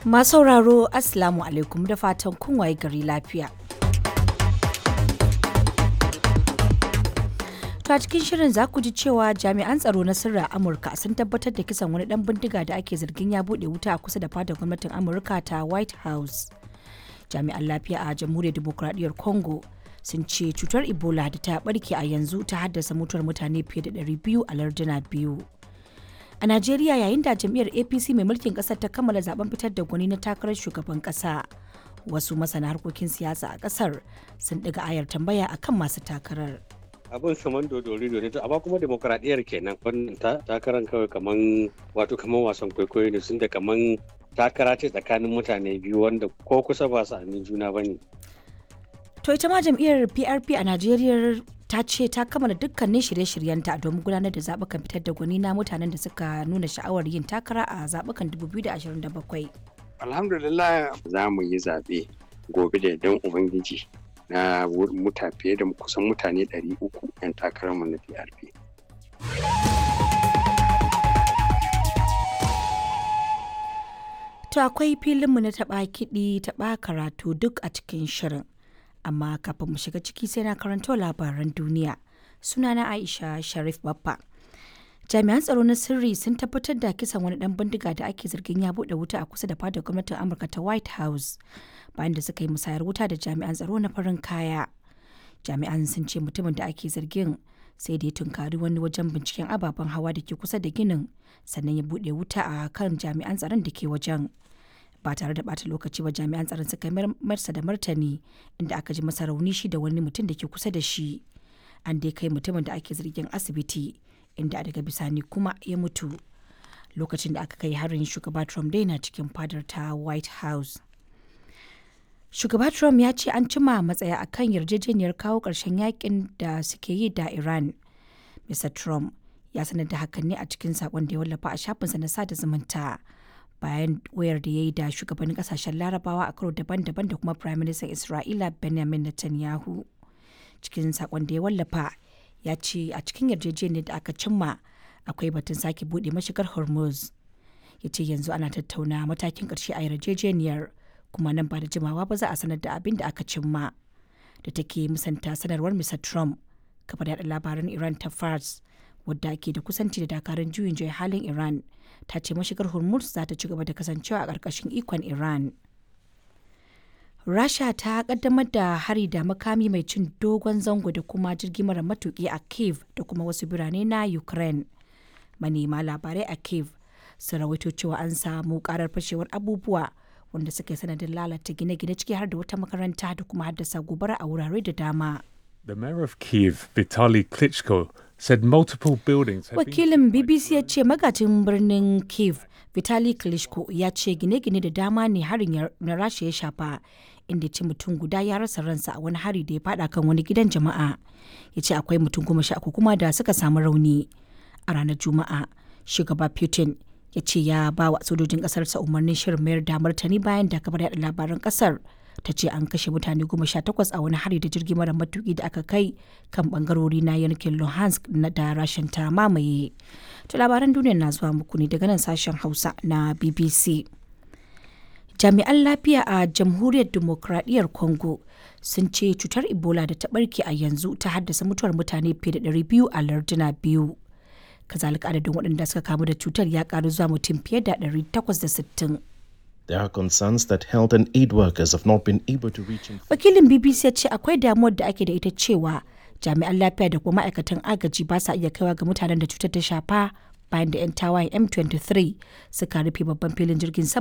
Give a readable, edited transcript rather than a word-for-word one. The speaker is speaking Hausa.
Masu sauraro, Assalamu alaikum, da fatan kun waye gari lafiya. To, a cikin shirin za ku ji cewa jami'an tsaro na sirri a Amurka sun tabbatar da kisan wani dan bindiga da ake zargin ya bude wuta a kusa da fadar gwamnatin Amurka ta White House. Jami'an lafiya a Jamhuriyar Dimokuraɗiyyar Congo sun ce cutar Ebola da ta barke a yanzu ta haddasa mutuwar mutane fiye da 200 a larduna biyu. A Najeriya, yayin da jam'iyyar APC mai mulkin kasar ta kammala zaben fitar da gwani na takarar shugaban kasa, wasu masana harkokin siyasa a kasar sun ɗiga ayar tambaya akan masu takarar. Abin kaman dodori ne, to amma kuma demokradiyyar kenan. Wannan takaran kawai kaman, wato kaman wasan kwaikwayo ne, sun da kaman takara ce tsakanin mutane biyu wanda ko kusa ba su amin juna ba ne. To, ita ma jam'iyyar PRP a Najeriya ta ce ta kammala dukkanin shirye-shiryenta domin gudanar da zaɓukan fitar da gwani na mutanen da suka nuna sha'awar yin takara a zaɓukan 2027. Alhamdulillah, za mu yi zaɓe gobe da yardan Ubangiji na muta fiye da kusan mutane 300 'yan takararmu na PRP. To, akwai filinmu na taɓa kiɗi taɓa karatu duk a cikin shirin. Amma kafin mu shiga ciki, sai na karanto labaran duniya. Sunana Aisha Sharif Baffa. Jami'an tsaro na sirri sun tabbatar da kisan wani dan bindiga da ake zargin ya bude wuta a kusa da fadar gwamnatin Amurka ta White House bayan da suka yi musayar wuta da jami'an tsaro na farin kaya. Jami'an sun ce mutumin da ake zargin sai da ya tunkari wani wajen binciken ababen hawa da ke kusa da ginin, sannan ya bude wuta a kan jami'an tsaron da ke wajen. Ba tare da bata lokaci ba jami'an tsaron suka marsa da martani, inda aka ji masa rauni shi da wani mutum da ke kusa da shi. An dai kai mutumin da ake zargin asibiti, inda daga bisani kuma ya mutu. Lokacin da aka kai harin, shugaba Trump dai na cikin fadar ta White House. Shugaba Trump ya ce an cima matsaya akan yarjejeniyar kawo ƙarshen yakin da suke yi da Iran. Mr Trump ya sanar da hakan ne a cikin sakon da ya wallafa a shafinsa na sada zumunta, bayan wayar da ya yi da shugabannin kasashen Larabawa a karo daban-daban da kuma Prime Minister Isra'ila Benjamin Netanyahu. Cikin sakon da ya wallafa, ya ce a cikin yarjejeniyar da aka cimma akwai batun sake buɗe mashigar Hormuz. Ya ce yanzu ana tattauna matakin ƙarshe a yarjejeniyar, kuma nan ba da jimawa ba za a sanar da abin da aka cimma. Da take musanta sanarwar Mr Trump, kafar yaɗa labaran Iran ta Fars, wadda ke da kusanci da dakarun juyin juya halin Iran, ta ce mashigar Hormuz za ta ci gaba da kasancewa a ƙarƙashin ikon Iran. Rasha ta kaddamar da hari da makami mai cin dogon zango da kuma jirgi mara matuki a Kiev da kuma wasu birane na Ukraine. Manema labarai a Kiev sun rawaito cewa an samu karar fashewar abubuwa wanda suka yi sanadin lalata gine-gine, ciki har da wata makaranta, da kuma haddasa gobara a wurare da dama. The mayor of Kiev, Vitaly Klitschko, said multiple buildings had been Wakilin BBC ya ce magajin birnin Kiev, Vitali Klitschko, ya ce gine-gine da dama ne harin na Rasha ya shafa, inda ce mutum guda ya rasa ransa a wani hari da ya fada kan wani gidan jama'a. Ya ce akwai mutum 13 kuma da suka samu rauni. A ranar Juma'a, shugaba Putin ya ce ya ba wa sojojin kasarsa umarnin shirin mayar da martani bayan da kafar yada labaran kasar ta ce an kashe mutane 18 a wani hari da jirgi mara matuki da aka kai kan bangarori na yankin Luhansk na da Rashin ta mamaye. To, labaran duniya na zuwa muku ne daga nan sashen Hausa na BBC. Jami'an lafiya a Jamhuriyar Dimokuraɗiyyar Congo sun ce cutar Ebola da ta barke a yanzu ta haddasa mutuwar mutane fiye da 200 a larduna biyu. Kazalika, adadin waɗanda suka kamu da cutar ya karu zuwa mutum fiye da 860. There are concerns that health and aid workers have not been able to reach. Wakilin BBC ya ce akwai damuwar da ake da ita cewa jami'an lafiya da kuma ma'aikatan agaji ba sa iya kaiwa ga mutanen da cutar ta shafa bayan da 'yan tawayen M23 suka rufe babban filin jirgin sama.